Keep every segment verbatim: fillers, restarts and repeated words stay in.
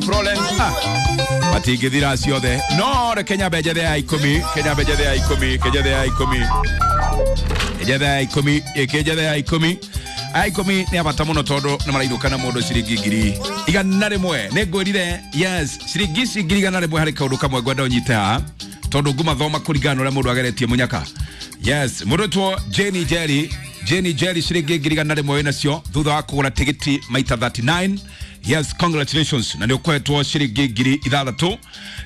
Florence. Ah, matingĩthira ciothe, no reke nyambe njethe ya ikũmi, kenya njethe ya ikũmi, kenya njethe ya ikũmi, njethe ya ikũmi, ĩkĩ njethe ya ikũmi. Aya ikũmi nĩ a bata mũno tondũ nĩ marainũka na mũndũ ciringi ngiri igana rĩmwe. Nĩ ngwĩrire, yes, ciringi ici ngiri igana rĩmwe harĩ kaũndũ kamwe ngwenda ũnyite haha tondũ ngumathoma kũringana na ũrĩa mũndũ ageretie mũnyaka. Yes, mũndũ wĩtwo Jane Jerry, Jane Jerry, ciringi ngiri igana rĩmwe wĩnacio thutha wa kũgũra tigiti maita mĩrongo ĩtatũ na kenda. Yes, congratulations, na nĩ ũkoretwo ciringi ngiri ithathatũ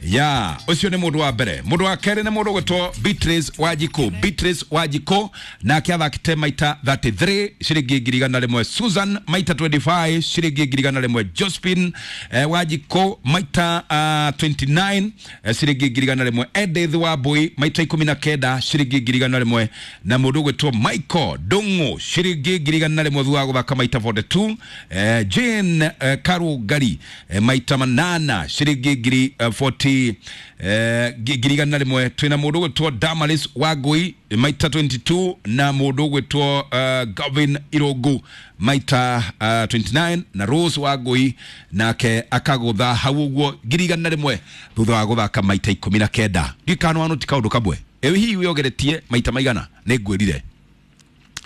ya. Ũcio nĩ mũndũ wa mbere. Mũndũ wa kerĩ nĩ mũndũ ũgwĩtwo Beatrice Wanjikũ. Beatrice Wanjikũ nake athakĩte maita mĩrongo ĩtatũ na ithatũ, ciringi ngiri igana rĩmwe. Susan maita mĩrongo ĩĩrĩ na ithano, ciringi ngiri igana rĩmwe. Josephine eh, Wanjikũ maita uh, mĩrongo ĩĩrĩ na kenda, eh, ciringi ngiri igana rĩmwe. Edith Wambui maita ikũmi na kenda, ciringi ngiri igana rĩmwe. Na mũndũ ũgwĩtwo Michael Ndung'u, ciringi ngiri igana rĩmwe thutha wa gũthaka maita mĩrongo ĩna na igĩrĩ. eh, Jane eh, Karungari eh, maita manana, ciringi ngiri eh, mĩrongo ĩna, eh, ngiri igana rĩmwe. Twĩna mũndũ ũgwĩtwo Damaris Wangui maita mĩrongo ĩĩrĩ na igĩrĩ, na mũndũ ũgwĩtwo uh, Gavin Irũngũ maita uh, mĩrongo ĩĩrĩ na kenda, na Rose Wangui nake akagũtha hau ũguo ngiri igana rĩmwe thutha wa gũthaka maita ikũmi na kenda. Ndiũĩ kana ti kaũndũ kamwe. Ĩ hihi wĩogeretie maita maigana? Nĩ ngwĩrire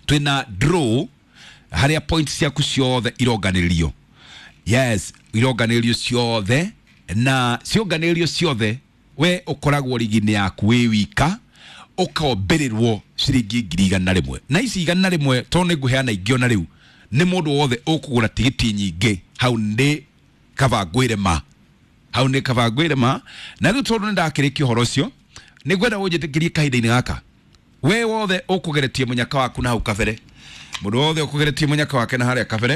twĩna draw harĩa points ciaku ciothe ironganĩrĩrio. Yes, ironganĩrĩrio ciothe, na cionganĩrĩrio ciothe we ũkoragwo rigi-inĩ yaku wĩ wika, ũkombĩrĩrwo ciringi ngiri igana rĩmwe. Na ici igana rĩmwe, tondũ nĩ ngũheana ingĩ ona rĩu, nĩ mũndũ wothe ũkũgũra tigiti nyingĩ. Hau nĩ kaba ngwĩre ma, hau nĩ kaba ngwĩre ma. Na rĩu tondũ nĩ ndakĩrĩkia ũhoro ũcio, nĩ ngwenda ũnjĩtĩkĩrie kahinda-inĩ gaka, we wothe ũkũgeretie mũnyaka waku na hau kabere, mũndũ wothe ũkũgeretie mũnyaka wake na harĩa kabere,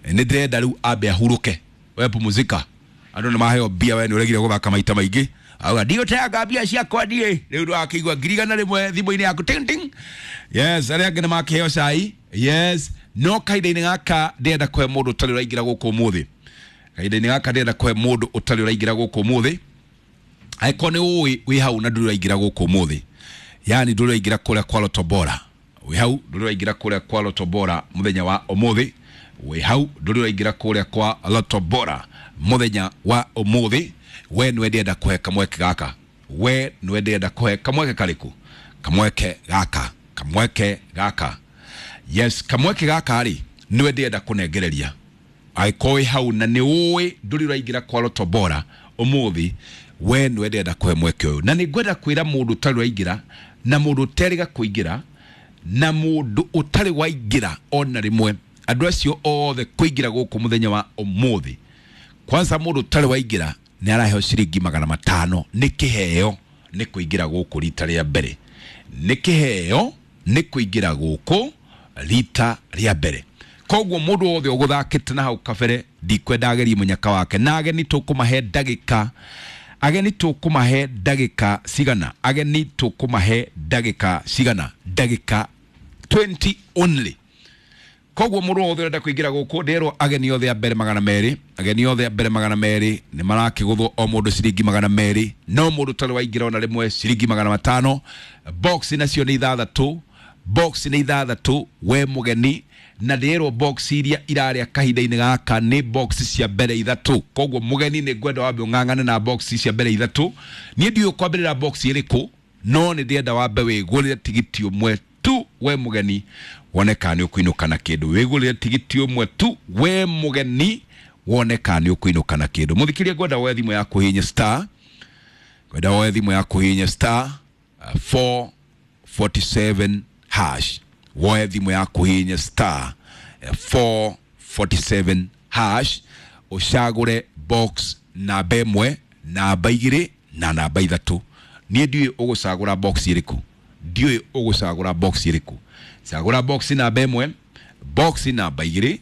nĩ ndĩrenda rĩu ambe ahurũke. We pumzika, andũ nĩ maheo mbia, we nĩ ũregire gũthaka maita maingĩ, auga ndigũteanga mbia ciakwa niĩ. Rĩu ndwakĩigua ngiri igana rĩmwe thimũ-inĩ yaku, ting ting. Yes, arĩa angĩ nĩ makĩheo cai. Yes, no kahinda-inĩ gaka ndĩrenda kũhe mũndũ ũtarĩ ũraingĩra gũkũ ũmũthĩ. Kahinda-inĩ gaka ndĩrenda kũhe mũndũ ũtarĩ ũraingĩra gũkũ ũmũthĩ. Angĩkorwo nĩ ũĩ wĩ hau na ndũrĩ ũraingĩra gũkũ ũmũthĩ, yani ndũrĩ ũraingĩra kũrĩa kwa Lotto Bora, wĩ hau ndũrĩ ũraingĩra kũrĩa kwa Lotto Bora mũthenya wa ũmũthĩ, wĩ hau ndũrĩ ũraingĩra kũrĩa kwa Lotto Bora mũthenya wa ũmũthĩ, we nĩwe ndĩrenda kũhe kamweke gaka. We nĩwe ndĩrenda kũhe kamweke karĩkũ? Kamweke gaka, kamweke gaka. Yes, kamweke gaka rĩ, nĩwe ndĩrenda kũnengereria. Angĩkorwo wĩ hau na nĩ ũĩ ndũrĩ ũraingĩra kwa Lotto Bora ũmũthĩ, we nĩwe ndĩrenda kũhe mweke ũyũ. Na nĩ ngwenda kwĩra mũndũ ũtarĩ ũraingĩra, na mũndũ ũterĩga kũingĩra, na mũndũ ũtarĩ waingĩra ona rĩmwe, andũ acio othe kũingĩra gũkũ mũthenya wa ũmũthĩ, kwanza mũndũ ũtarĩ waingĩra nĩ araheo ciringi magana matano, nĩ kĩheo nĩ kũingĩra gũkũ rita rĩa mbere, nĩ kĩheo nĩ kũingĩra gũkũ rita rĩa mbere. Koguo mũndũ wothe ũgũthakĩte na hau kabere, ndikwenda agerie mũnyaka wake. Na ageni tũkũmahe ndagĩka, ageni tũkũmahe ndagĩka cigana? Ageni tũkũmahe ndagĩka cigana? Ndagĩka mĩrongo ĩĩrĩ only. Koguo mũndũ wothe ũrenda kũingĩra gũkũ, ndĩrwo ageni othe a mbere magana merĩ, ageni othe a mbere magana merĩ nĩ marakĩgũthwo o mũndũ ciringi magana merĩ. No mũndũ ũtarĩ waingĩra ona rĩmwe, ciringi magana matano. Box nacio nĩ ithathatũ, box nĩ ithathatũ, we mũgeni. Na ndĩrwo box iria irarĩa kahinda-inĩ gaka nĩ box cia mbere ithatũ. Koguo mũgeni, nĩ ngwenda wambe ũng'ang'ane na box cia mbere ithatũ. Niĩ ndiũĩ kwambĩrĩra box ĩrĩkũ, no nĩ ndĩrenda wambe wĩgũrĩre tigiti ũmwe tu, we mũgeni, wone kana nĩ ũkũinũka na kĩndũ. Wĩgũrĩre tigiti ũmwe tu, we mũgeni, wone kana nĩ ũkũinũka na kĩndũ. Mũthikĩria, ngwenda woe thimũ yaku hihinya star, ngwenda woe thimũ yaku hihinya star uh, four forty-seven hash. Woe thimũ yaku hihinya star eh, four forty-seven hash, ũcagũre box namba ĩmwe, namba igĩrĩ na namba ithatũ. Niĩ ndiũĩ ũgũcagũra box ĩrĩkũ, ndiũĩ ũgũcagũra box ĩrĩkũ. Cagũra box namba ĩmwe, box namba igĩrĩ,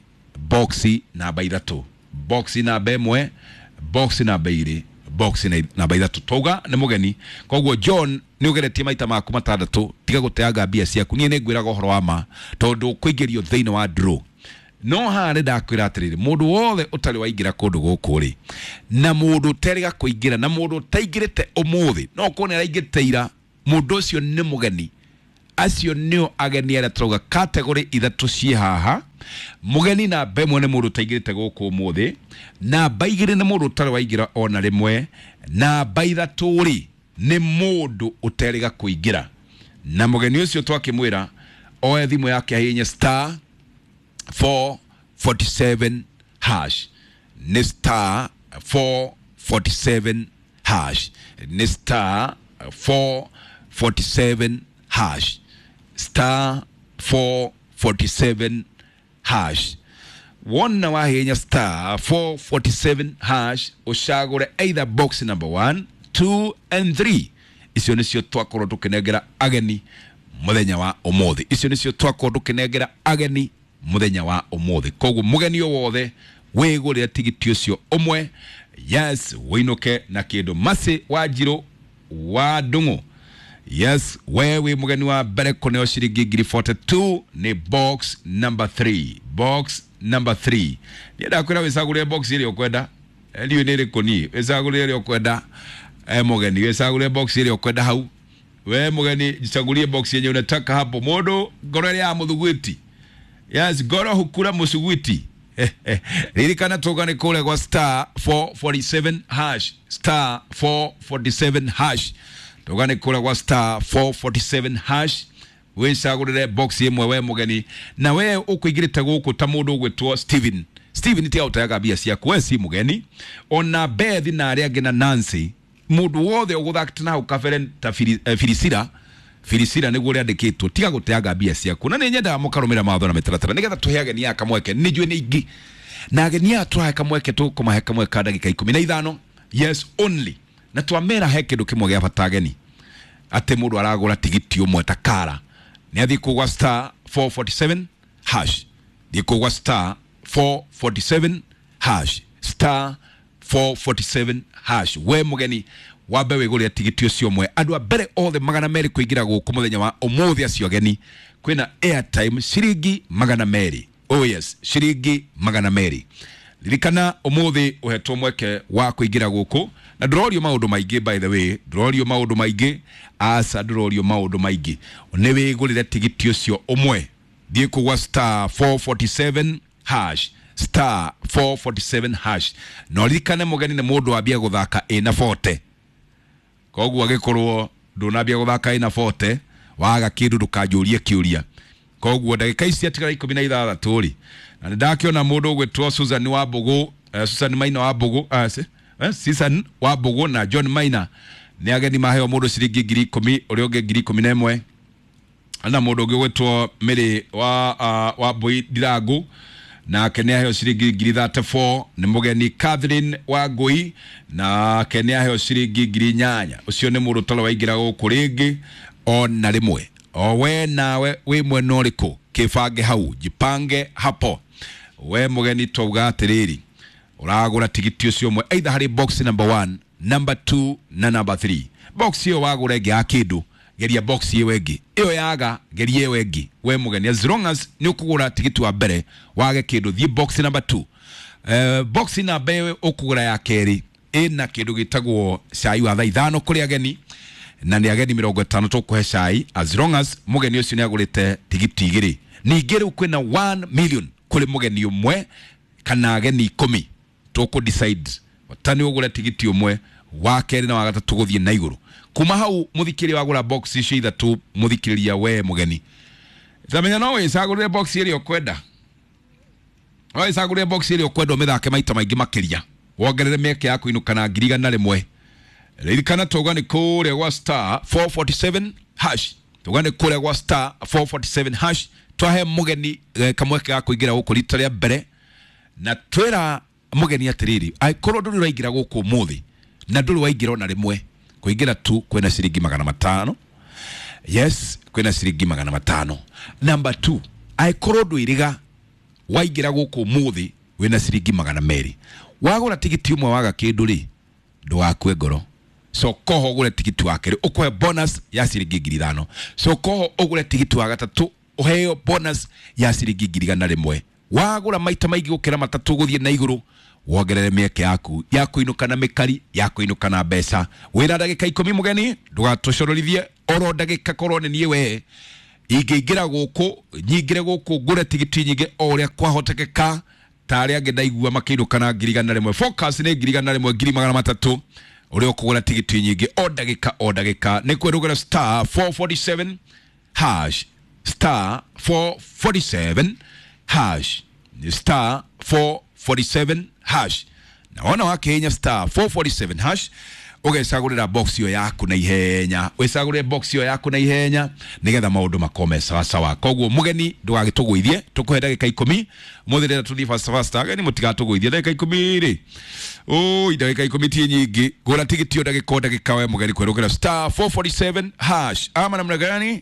box namba ithatũ. Box namba ĩmwe, box namba igĩrĩ, box na- namba ithatũ. Twauga nĩ mũgeni, koguo John, nĩ ũgeretie maita maku matandatũ, tiga gũteanga mbia ciaku. Niĩ nĩ ngwĩraga ũhoro wa ma tondũ kũingĩrio thĩinĩ wa draw. No haha nĩ ndakwĩra atĩrĩrĩ, mũndũ wothe ũtarĩ waingĩra kũndũ gũkũ rĩ, na mũndũ ũterĩga kũingĩra, na mũndũ ũtaingĩrĩte ũmũthĩ, no ũkorwo nĩ araingĩrĩte ira, mũndũ ũcio nĩ mũgeni. Acio nĩo ageni arĩa tũrauga category ithatũ ciĩ haha. Mũgeni namba ĩmwe nĩ mũndũ ũtaingĩrĩte gũkũ ũmũthĩ, namba igĩrĩ nĩ mũndũ ũtarĩ waingĩra ona rĩmwe, namba ithatũ rĩ nĩ mũndũ ũterĩga kũingĩra. Na mũgeni ũcio twakĩmwĩra oe thimũ yake ahihinye star four forty-seven hash, nĩ star four forty-seven hash, nĩ star four forty-seven hash, star four forty-seven hash. Wona wahihinya star four forty-seven hash ũcagũre either box number one, two and three. Icio nĩcio twakorwo tũkĩnengera ageni mũthenya wa ũmũthĩ. Icio nĩcio twakorwo tũkĩnengera ageni mũthenya wa ũmũthĩ. Koguo mũgeni o wothe wĩgũrĩre tigiti ũcio ũmwe, yes, wĩinũke na kĩndũ. Mercy Wanjirũ wa Ndung'u, yes, we wĩ mũgeni wa mbere kũneo ciringi ngiri forty-two nĩ box number three, box number three. Ndienda kwĩra wĩcagũrĩre box ĩrĩa ũkwenda, ndiũĩ nĩ ĩrĩkũ niĩ, wĩcagũrĩre ĩrĩa ũkwenda. E mũgeni wĩcagũrĩre box ĩrĩa ũkwenda hau. We mũgeni jichagulie box yenye unataka hapo. Mũndũ ngoro ĩrĩa ya mũthugwiti, yes, ngoro hukura mũcugwiti. Ririkana tuga nĩ kũrĩa gwa star four forty-seven hash, star four forty-seven hash. Tuga nĩ kũrĩa gwa star four forty-seven hash wĩcagũrĩre box ĩmwe we mũgeni. Na we ũkũingĩrĩte gũkũ ta mũndũ ũgwĩtwo Steven. Steven tiga ũteaga mbia ciaku, we si mũgeni. Ona Beth na arĩa angĩ na Nancy, mũndũ wothe ũgũthakĩte na hau kabere ta Filisira, Filisira nĩguo rĩandĩkĩtwo, tiga gũteaga mbia ciaku. Na nĩ nyendaga mũkarũmĩrĩra mawatho na mĩtaratara nĩgetha tũhe ageni aya kamweke. Nĩ njũĩ nĩ ingĩ na ageni aya tũrahe kamweke, tũkũmahe kamweke ka ndagĩka ikũmi na ithano, yes only. Na twamera he kĩndũ kĩmwe gĩa bata ageni, atĩ mũndũ aragũra tigiti ũmwe ta kara nĩ athiĩ kũgwa star four forty-seven hash, thiĩ kũgwa star four forty-seven hash, star four forty-seven hash. We mũgeni wambe wĩgũrĩre tigiti ũcio ũmwe. Andũ a mbere othe magana merĩ kũingĩra gũkũ mũthenya wa ũmũthĩ acio ageni, kwĩna airtime ciringi magana merĩ. Oh yes, ciringi magana merĩ. Ririkana ũmũthĩ ũhetwo mweke wa kũingĩra gũkũ, na ndũrorio maũndũ maingĩ, by the way, ndũrorio maũndũ maingĩ, aca ndũrorio maũndũ maingĩ. Nĩ wĩgũrĩre tigiti ũcio ũmwe, thiĩ kũgwa star four forty-seven hash, star four forty-seven hash. Na ũririkane mũgeni nĩ mũndũ wambia gũthaka ĩna forty. Koguo agĩkorwo ndũnambia gũthaka ĩna forty, waga kĩndũ ndũkanjũrie kĩũria. Koguo ndagĩka ici ciatigara ikũmi na ithathatũ rĩ, na nĩ ndakĩona mũndũ ũgwĩtwo Susan wa Mbũgũ, eh, Susan Maina wa Mbũgũ, eh, eh, Susan wa Mbũgũ na John Maina nĩ ageni maheo mũndũ ciringi ngiri ikũmi, ũrĩa ũngĩ ngiri ikũmi na ĩmwe. Na mũndũ ũngĩ ũgwĩtwo Mary wa, uh, wa Mbũi Ndirangu nake nĩ aheo ciringi ngiri thirty-four. Nĩ mũgeni Catherine wa Ngui nake nĩ aheo ciringi ngiri inyanya. Ũcio nĩ mũndũ ũtarĩ waingĩra gũkũ rĩngĩ ona rĩmwe. O we nawe wĩ mwena ũrĩkũ, kĩbange hau, jipange hapo. We mũgeni twauga atĩrĩrĩ, ũragũra tigiti ũcio ũmwe either harĩ box number one, number two na number three. Box ĩyo wagũra ĩngĩ ya kĩndũ, geria box ĩyo ĩngĩ, ĩyo yaga geria ĩyo ĩngĩ. We mũgeni as long as nĩ ũkũgũra tigiti wa mbere wage kĩndũ, thiĩ box number two. Eh, box namba ĩyo ũkũgũra ya kerĩ ĩna kĩndũ gĩtagwo cai wa thaa ithano kũrĩ ageni, na nĩ ageni mĩrongo ĩtano tũkũhe cai as long as mũgeni ũcio nĩ agũrĩte tigiti igĩrĩ. Ningĩ rĩu kwĩna one million kũrĩ mũgeni ũmwe kana ageni ikũmi, tũkũ decide ta nĩ ũgũre tigiti ũmwe, wa kerĩ na wa gatatũ gũthiĩ na igũrũ. Kuma hau mũthikĩrĩria wagũra box icio ithatũ, mũthikĩrĩria we mũgeni tamenya no wĩcagũrĩre box ĩrĩa ũkwenda, no wĩcagũrĩre box ĩrĩa ũkwenda ũmĩthake maita maingĩ makĩria, wongerere mĩeke ya kũinũka na ngiri igana rĩmwe. Ririkana tauga nĩ kũrĩa gwa star four forty-seven hash, tauga nĩ kũrĩa gwa star four forty-seven hash. Twahe mũgeni kamweke ga kũingĩra gũkũ rita rĩa mbere, na twĩra mũgeni atĩrĩrĩ, angĩkorwo ndũrĩ ũraingĩra gũkũ ũmũthĩ na ndũrĩ waingĩra ona rĩmwe, kũingĩra tu kwĩna ciringi magana matano. Yes, kwĩna ciringi magana matano. Number two, angĩkorwo ndwĩrĩga waingĩra gũkũ ũmũthĩ wĩna ciringi magana merĩ, wagũra tigiti ũmwe waga kĩndũ rĩ, ndũgakue ngoro. Cokoho ũgũre tigiti wa kerĩ ũkũhe bonus ya ciringi ngiri ithano. Cokoho ũgũre tigiti wa gatatũ ũheo bonus ya ciringi ngiri igana rĩmwe. Wagũra maita maingĩ gũkĩra matatũ gũthiĩ na igũrũ, wongerere mĩeke yaku ya kũinũka na mĩkari, ya kũinũka na mbeca. Wĩna ndagĩka ikũmi mũgeni, ndũgatũcororithie oro ndagĩka korwo nĩ niĩ we. Ingĩingĩra gũkũ nyingĩre gũkũ ngũre tigiti nyingĩ o ũrĩa kwahotekeka, ta arĩa angĩ ndaigua makĩinũka na ngiri igana rĩmwe. Focus nĩ ngiri igana rĩmwe, ngiri magana matatũ, ũrĩa ũkũgũra tigiti nyingĩ o ndagĩka o ndagĩka. Nĩ kwĩrũgĩra star four forty-seven hash, star four forty-seven hash, star four forty-seven hash. Na wona wakĩhihinya star four forty-seven hash, ũgecagũrĩra box ĩyo yaku na ihenya, wĩcagũrĩre box ĩyo yaku na ihenya nĩgetha maũndũ makorwo me sawasawa. Koguo mũgeni ndũgagĩtũgũithie, tũkũhe ndagĩka ikũmi mũthĩ, rĩrĩa tũthiĩ fasta fasta. Ageni mũtigatũgũithie, ndagĩka ikũmi rĩ, ũi, ndagĩka ikũmi ti nyingĩ. Gũra tigiti o ndagĩka o ndagĩka, we mũgeni, kwerũkĩra star four forty-seven hash. Ama namna gani?